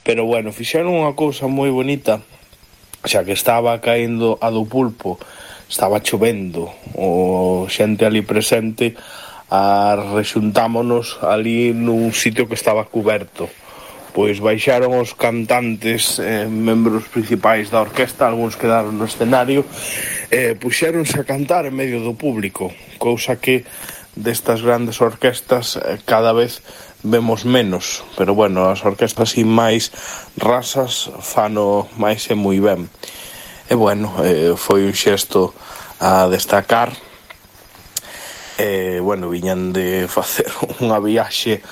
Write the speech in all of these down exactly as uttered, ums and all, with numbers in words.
Pero bueno, fixeron unha cousa moi bonita, xa que estaba caendo a do pulpo, estaba chovendo, o xente ali presente, a rexuntámonos ali nun sitio que estaba cuberto. Pois baixaron os cantantes, eh, membros principais da orquesta, algúns quedaron no escenario, e eh, puxéronse a cantar en medio do público, cousa que destas grandes orquestas eh, cada vez vemos menos, pero bueno, as orquestas así máis rasas fano máis e moi ben. E bueno, eh, foi un xesto a destacar. E bueno, viñan de facer unha viaxe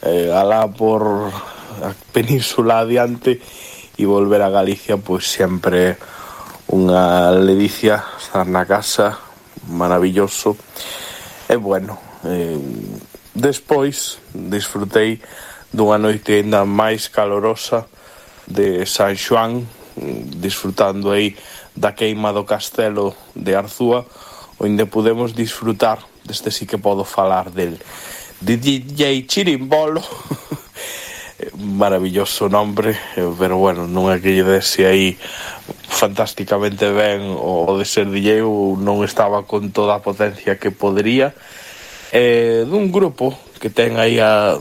eh, alá por a península adiante e volver a Galicia, pois sempre unha ledicia estar na casa, maravilloso. E bueno, eh, despois disfrutei dunha noite ainda máis calorosa de San Xoán, disfrutando aí da queima do castelo de Arzúa, onde podemos disfrutar deste sí que podo falar del de D J Chirimbolo. Maravilloso nombre, pero bueno, non é que lle dese aí fantásticamente ben o de ser D J, ou non estaba con toda a potencia que podería. Eh, dun grupo que ten aí a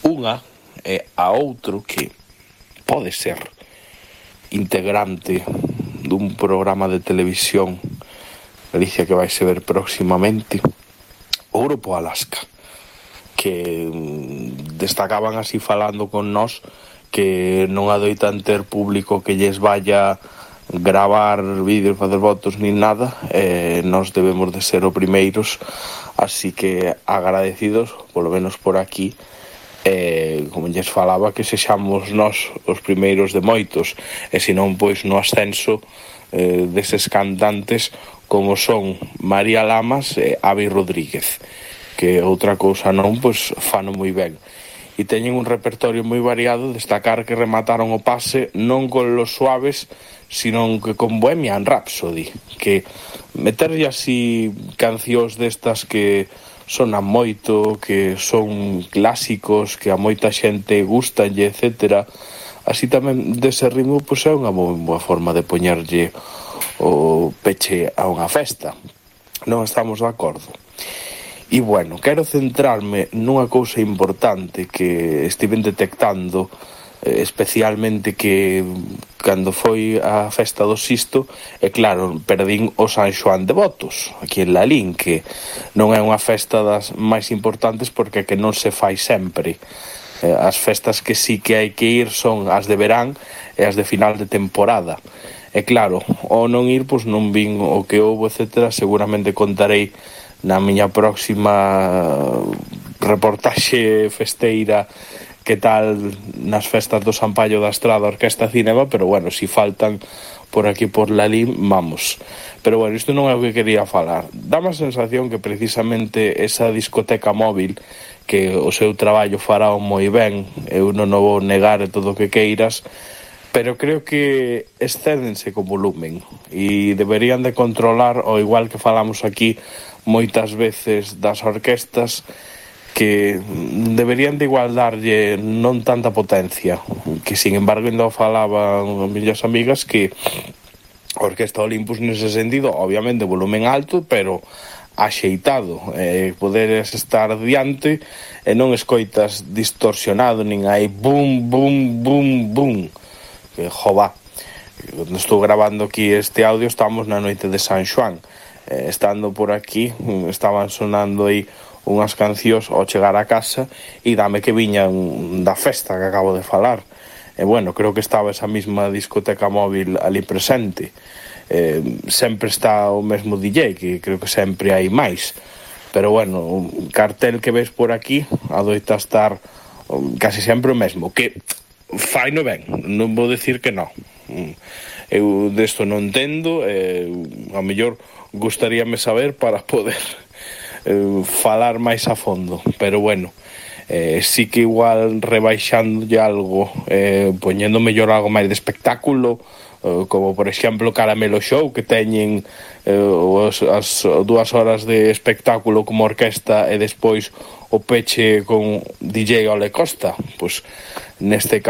unha e a outro que pode ser integrante dun programa de televisión Galicia que vai se ver próximamente, o grupo Alaska, que destacaban así falando con nós que non adoitan ter público que lles vaya gravar vídeos, facer fotos nin nada, e nós debemos de ser os primeiros, así que agradecidos, polo menos por aquí, e como lles falaba, que sexamos nós os primeiros de moitos, e senón pois no ascenso eh, deses cantantes como son María Lamas e Avi Rodríguez, que outra cousa non, pois fano moi ben. E teñen un repertorio moi variado, destacar que remataron o pase non con Los Suaves, sino que con Bohemian Rhapsody, que meterlle así cancións destas que sonan moito, que son clásicos, que a moita xente gustanlle, etcétera, así tamén dese ritmo, pois é unha moi boa forma de poñerlle o peche a unha festa. Non estamos de acordo? E bueno, quero centrarme nunha cousa importante que estiven detectando, eh, especialmente que cando foi a festa do Sisto, e claro, perdín o San Xoán de Botos, aquí en Lalín, que non é unha festa das máis importantes porque que non se fai sempre. Eh, as festas que sí que hai que ir son as de verán e as de final de temporada. E claro, ao non ir, pois non vin o que houve, etcétera, seguramente contarei na miña próxima reportaxe festeira que tal nas festas do San Paio da Estrada Orquesta Cinema, pero bueno, si faltan por aquí por Lalín, vamos. Pero bueno, isto non é o que quería falar. Dá-me a sensación que precisamente esa discoteca móvil, que o seu traballo fará moi ben, eu non o vou negar e todo o que queiras, pero creo que excédense co volumen e deberían de controlar, o igual que falamos aquí moitas veces das orquestas, que deberían de igual darlle non tanta potencia, que sin embargo ainda falaban as miñas amigas que a Orquesta Olympus nese sentido, obviamente volumen alto, pero axeitado, eh, poderes estar diante e non escoitas distorsionado, nin hai bum, bum, bum, bum, que jova. Cando estou grabando aquí este audio estamos na noite de San Xoán, eh, estando por aquí estaban sonando aí unhas cancións ao chegar a casa e dame que viñan da festa que acabo de falar. E bueno, creo que estaba esa mesma discoteca móvil ali presente. Eh, sempre está o mesmo D J, que creo que sempre hai máis. Pero bueno, o cartel que ves por aquí adoita estar casi sempre o mesmo, que fai no ben, non vou decir que non. Eu desto non entendo, eh, a mellor gustaríame saber para poder eh, falar máis a fondo, pero bueno, eh, sí que igual rebaixándolle algo, eh, poñendo mellor algo máis de espectáculo, eh, como por exemplo Caramelo Show, que teñen eh, os, as dúas horas de espectáculo como orquesta e despois o peche con D J Ole Costa, pois neste caso